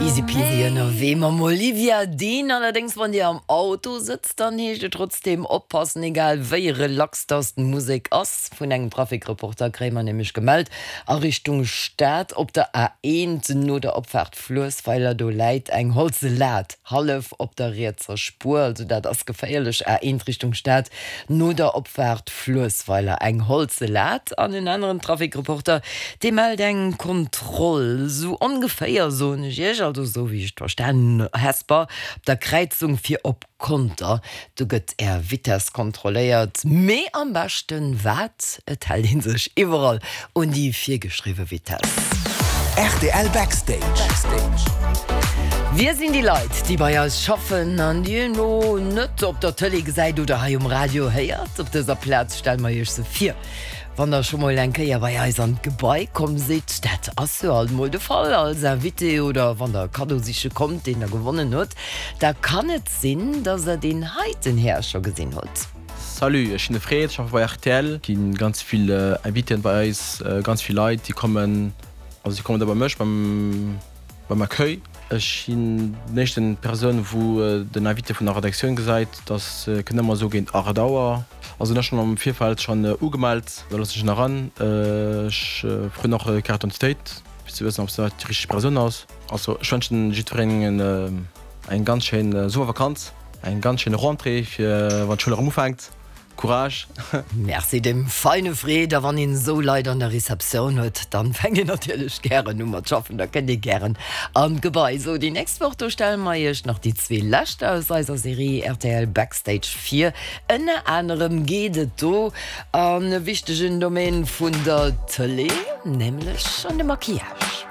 Easy peasy ënnerwee mam Olivia Dean. Allerdéngs wann dir am Auto sëtzt, dann heescht et trotzdeem oppassen, egal wéi relax dass d'Musek ass. Vun engem Trafikreporter kréie mer nämlech gemellt, a Richtung Stad op der A1 no der Opfaart Fluessweiler, do läit eng holze Lat hallef op der rietser Spuer, also dat ass geféierlech. A1 Richtung Stad no der Opfaart Fluessweiler, eng holze Lat. An en aneren Trafikreporter, dee mellt eng Kontroll, sou ongeféier soen ech iech, also sou wéi ech et verstanen hunn, Hesper op der Kräizung fir op Conter, do gëtt är Vitess kontrolléiert, mee am beschten wat? Et hält een sech iwwerall un déi virgeschriwwe Vitess. Rtl Backstage. Wie sinn déi Leit, déi bei eis schaffen an déi een elo net op der Tëlee gesäit oder hei um Radio héiert? Op dëser Plaz stelle mer iech se vir. Wann der scho mol eng Kéier bei eis an d'Gebai komm sidd, dat ass jo alt mol de Fall als Invité, oder wann der e Kaddo siche kommt, deen der gewonnen hutt, da kann et sinn, dass der deen heiten Här scho gesinn hutt. Salut, ech sinn de Fred, schaffe bei rtl. Gi ganz vill Invitéen bei eis, ganz vill Leit déi kommen, also déi kommen da bei mech beim beim Accueil. Ech sinn den éischten Persoun wou den Invité vun der Redaktioun gesäit, dass kënnt ëmmer esou géint 8 Auer. Also hunn ech schonn am Virfeld schonn ugemellt, da loossen ech en eran. Ech froen och Carte d'identité fir ze wëssen ob se déi richteg Persoun ass. Also ech wënschen jiddwerengem eng ganz schéin Summervakanz, eng ganz schéin Rentrée fir wann d'Schoul erëm ufänkt. Courage! Merci dem feine Fred. A wann een esou Leit an der Receptioun huet, dann fänkt een natierlech gären u mat schaffen, da kënnt ee gären an d'Gebai. Sou, déi nächst Woch, do stelle mer iech nach déi zwee lescht aus eiser Serie rtl Backstage vir. Ënner anerem geet et do an e wichtegen Domaine vun der Tëlee, nämlech an de Maquillage.